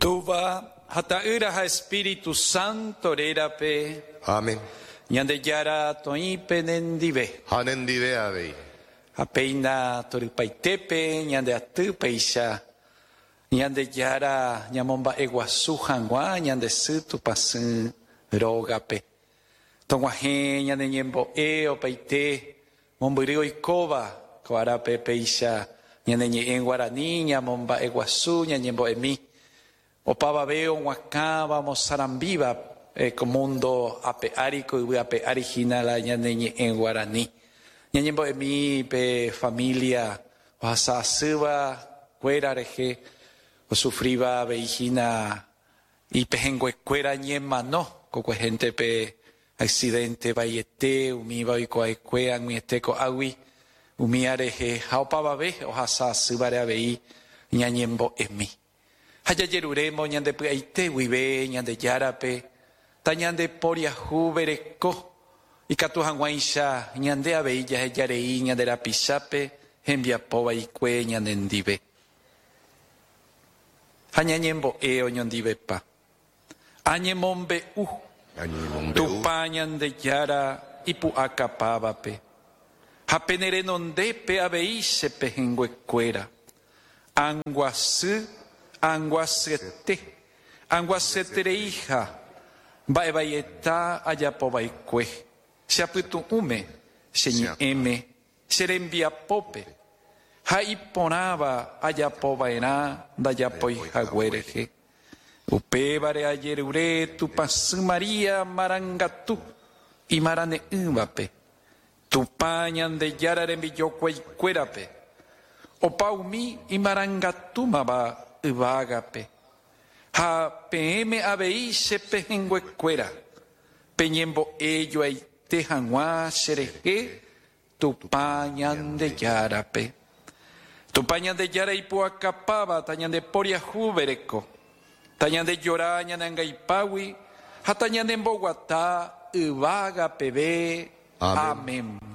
Túva ha Ta'ýra ha Espíritu Santo rérape. Amén. Ñandejára toĩ penendive. Ha nendive avei. Ha péina torypaitépe ñande aty péicha Ñandejára ñamomba'eguasu hag̃ua ñande sy Tupãsy rógape. Tog̃uahẽ ñane ñembo'e opaite mombyry oikóva ko árape péicha ñane ñe'ẽ guarani ñamomba'eguasu ñañembo'emi opavave og̃uakãva omosarambíva ko mundo ape ári ko yvy ape ári hína la ñane ñe'ẽ guarani. Ñañembo'emi pe familia ohasa asýva kuéra rehe osufríva avei hína Ipehẽnguekuéra ñemano kokuehénte pe accidente vaiete umíva oikuaekue ag̃uiete ko'águi umía rehe ha opavave ohasa asývare avei ñañembo'emi. Ha jajerurémo ñande py'aite guive Ñandejárape tañandeporiahuvereko ikatu hag̃uáicha ñande avei jahejarei ñande rapichápe hembiapo vaikue ñanendive. Ha ñañembo'e oñondivepa. Añemombe'u Tupã Ñandejára ipu'akapávape, ha pene renondépe avei che pehẽnguekuéra. Anguasy, anguasyete, anguasyetereiha mba'evaieta ajapova'ekue, che apytu'ũme, che ñe'ẽme, Che rembiapópe, ha iporãva ajapo va'erã ndajapói hague rehe. Upévare ajerure Tupãsy María marangatu imarane'ỹvape, Tupã Ñandejára rembijokuaikuérape, opa umi imarangatúmava yvágape, ha peẽme avei che pehẽnguekuéra, peñembo'e joaite hag̃ua cherehe Tupã Ñandejárape. Tupã Ñandejára ipu'akapáva tañandeporiahuvereko, tañandejora ñane angaipágui ha tañanemboguata yvága peve. Amén.